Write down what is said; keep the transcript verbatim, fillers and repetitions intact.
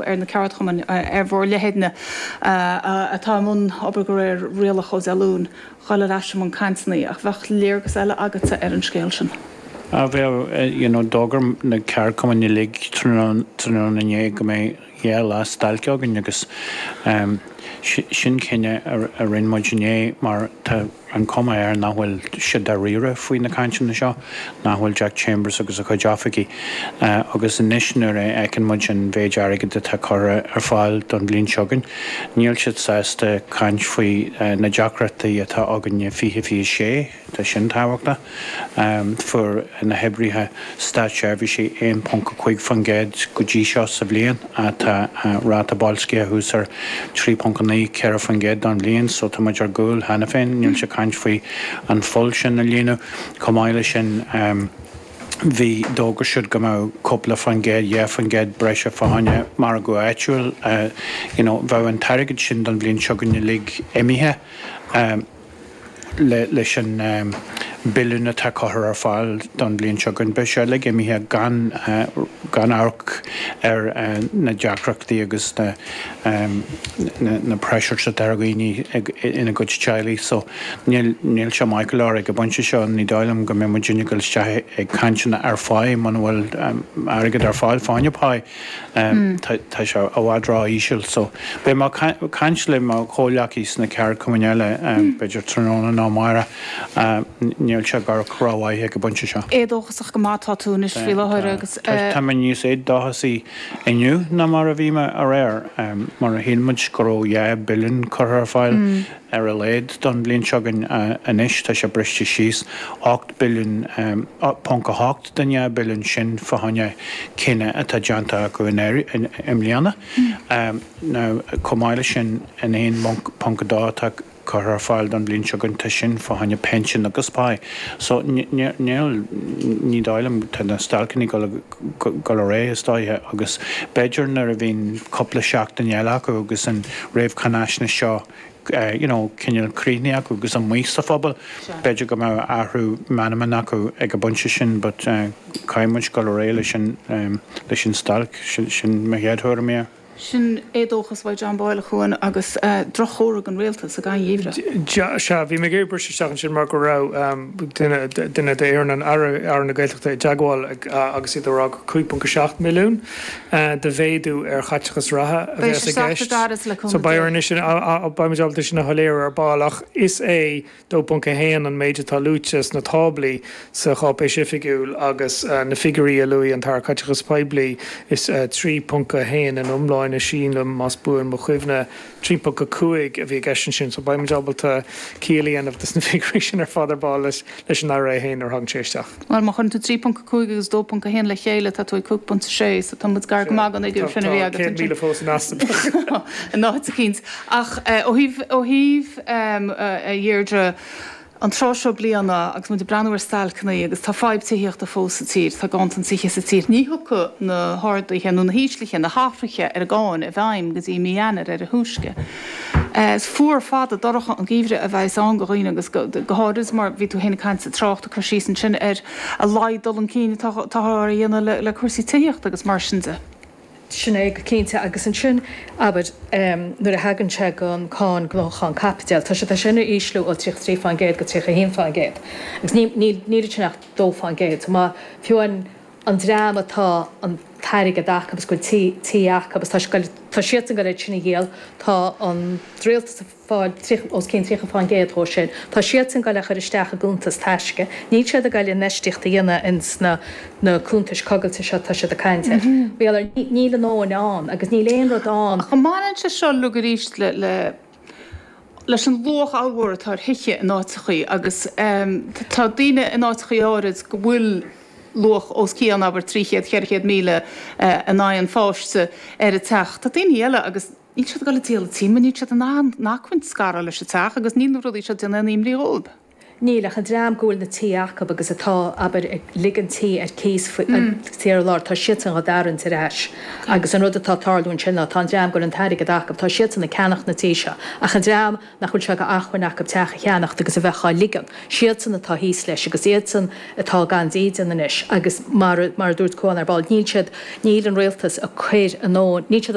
ar na ceardchumainn, ar bhur leithéidne atá i mbun obair de réir rialach ó Dé Luain, dhul ar ais i mbun cainteanna, ach bheadh léargas eile agatsa ar an scéal sin. Ah bheadh, you know, d'fhógair na ceardchumainn uilig tráthnóna inné go mbeidh dhá lá stailce againn agus sin cinneadh a rinne muid inné mar tá an cuma air nach bhfuil siad dáiríre faoi na cainteanna seo, nach bhfuil Jack Chambers agus a chuid oifigí. Agus anois nuair a fheiceann muid an mhéid airgid atá curtha ar fáil don bhliain seo chugainn, níl siad sásta caint faoi na deacrachtaí atá againn i fiche fiche sé. Tá sin tábhachtach. Fuair na hoibrithe státseirbhísí aon ponc a cúig faoin gcéad go dtí seo sa bhliain. Tá ráta boilscithe thuas ar trí ponc a naoi, ceithre faoin gcéad don bhliain, so tá muid ar gcúl cheana féin. Níl sé caint faoi an pholl sin a líonadh. Chomh maith leis sin, bhí, d'fhógair siad go mbeadh cúpla faoin gcéad, dhá faoin gcéad breise fá choinne margadh áitiúil. You know, bheadh an t-airgead sin don bhliain seo chugainn uilig imithe. Leis an billiún atá curtha ar fáil don bhliain seo chugainn, beidh sé uilig imithe gan gan amharc ar na deacrachtaí agus na na pressures atá ar dhaoine ina gcuid teaghlaigh. So níl níl sé maith go leor ag an bpointe seo. Ní dóigh liom go mbeidh muidinne ag dul isteach ag cainteanna ar phá muna bhfuil airgead ar fáil fá choinne pá. Tá sé i bhfad ró-íseal so beidh mé ag caint le mo chomhghleacaí sna ceardchumainn eile b'fhéidir tráthnóna nó amárach. Níl sé ag amharc rómhaith ag an bpointe seo. Éadóchasach go maith atá tú anois faoi láthair agus. Tá mé níos éadóchasaí inniu ná mar a bhí mé aréir mar a shíl muid go raibh dhá billiún curtha ar fáil ar a laghad don bhliain seo chugainn. Anois tá sé briste síos ocht billiún ponc a hocht den dhá billiún sin fá choinne cinneadh atá déanta acu i mbliana. Now chomh maith leis sin an aon ponc a dó atá curtha ar fáil don bhliain seo chugainn tá sin fá choinne pinsean agus pá. So níl, ní dóigh liom, tá na stailceanna ag dul ar aghaidh is dóiche agus b'fhéidir nuair a bhíonn cúpla seachtain eile acu agus an réamhcháinaisnéis seo you know, cineál críochnaithe acu agus amuigh sa phobal, b'fhéidir go mbeadh athrú meanman acu ag an bpointe sin but caithfidh muid dul ar aghaidh leis an, leis an stailc, sin mo chéad thuairim air. Sin éadóchas uaidh John Boyle, a Chuain, agus drochthóradh don rialtas sa gheimhreadh. Sea, bhí mé ag iarraidh briseadh isteach ansin mar go raibh duine duine d'fhoireann an Aire, Aire na Gaeltachta i dteagmháil agus iad ag rá gur cúig ponc a seacht milliún de mhéadú ar chaiteachas reatha a Beidh bheas sé i sách gceist. gairid le So cúnamh beidh Dé. orainn sin, beidh muid ábalta sin a shoiléiriú ar ball ach is é dó ponc a haon an méid atá luaite sna táblaí sa cháipéis oifigiúil agus na figiúirí a luaigh an tAire Caiteachais Poiblí is trí ponc a haon in iomláine sílim más buan mo chuimhne trí ponc a cúig a bhí i gceist ansin so beidh muid ábalta ciall a dhéanamh de na figiúirí sin ar fad ar ball leis leis an Aire é féin nuair a thagann sé isteach. Bhuel má chuireann tú trí ponc a cúig agus dó ponc a haon le chéile tá tú ag cúig ponc a sé so tá muid gar go maith don fhigiúr Tá sin a bhí tá agat céad ansin. míle fós in easnamh. In áit eicínt. Ach ó thaobh ó thaobh a Dheirdre, an tráth seo bliana agus muid ag breathnú ar stailceanna agus tá fadhb tithíochta fós sa tír, tá ganntan tithe sa tír, ní thiocfaidh na harduithe nó na híslithe, na hathruithe ar an gcáin i bhfeidhm go dtí mí Eanáir ar a thúisce. Is fuar fada dorcha an geimhreadh a bheas ann do dhaoine agus go háirid mar bhí tú féin ag caint sa trácht ag cur síos ansin ar a laghad dul chun cinn atá á dhéanamh le cúrsaí tithíochta agus mar sin de. Sin é go cinnte. Agus ansin, abair, nuair a thagann sé don cáin gnóthachan caipiteal, tá sé tá sin a ísliú ó tríocha trí faoin gcéad go tríocha a haon faoin gcéad. Agus ní níl níl ansin ach dó faoin gcéad. So má, fiú an an dream atá an t-airgead acu agus go bhfuil tí tí acu agus tá sé tá siadsan ag goil iad sin a dhíol, tá an rialtas ag fáil tríocha os cionn tríocha faoin gcéad dhó sin, tá siadsan ag goil a chur isteach i gcuntas taisce, níl siad ag goil infheistíocht a dhéanamh ins na na cuntais coigilte seo atá siad ag caint air. Bhuel, níl a ndóthain ann agus níl aon rud ann. Ach an mbaineann sé seo uilig arís le le leis an luach ollmhór atá ar thithe in áiteachaí agus tá daoine in áiteachaí áirid go bhfuil luach os cionn, abair, trí chéad, ceithre chéad míle in aghaidh an pháiste ar an teach. Tá daoine eile agus níl siad ag dul ag díol an tí mar níl siad in ann an acmhainn scaradh leis an teach agus níl na rudaí seo ag déanamh aon imní dhóibh. Níl ach an dream go bhfuil na tithe acu agus atá, abair, ag ligean tí ar cíos faoi ar lár, tá siadsan á dtarraingt ar ais. Agus an rud atá ag tarlú ansin ná tá an dream go bhfuil an t-airgead acu, tá siadsan ag ceannacht na tithe seo. Ach an dream nach bhfuil sé d'acmhainn acu teach a cheannacht agus a bheith á ligean, siadsan atá thíos leis agus iadsan atá gan dídean anois agus mar mar a dúirt Cuán ar ball, níl siad, níl an rialtas ag cur a ndóthain, níl siad ag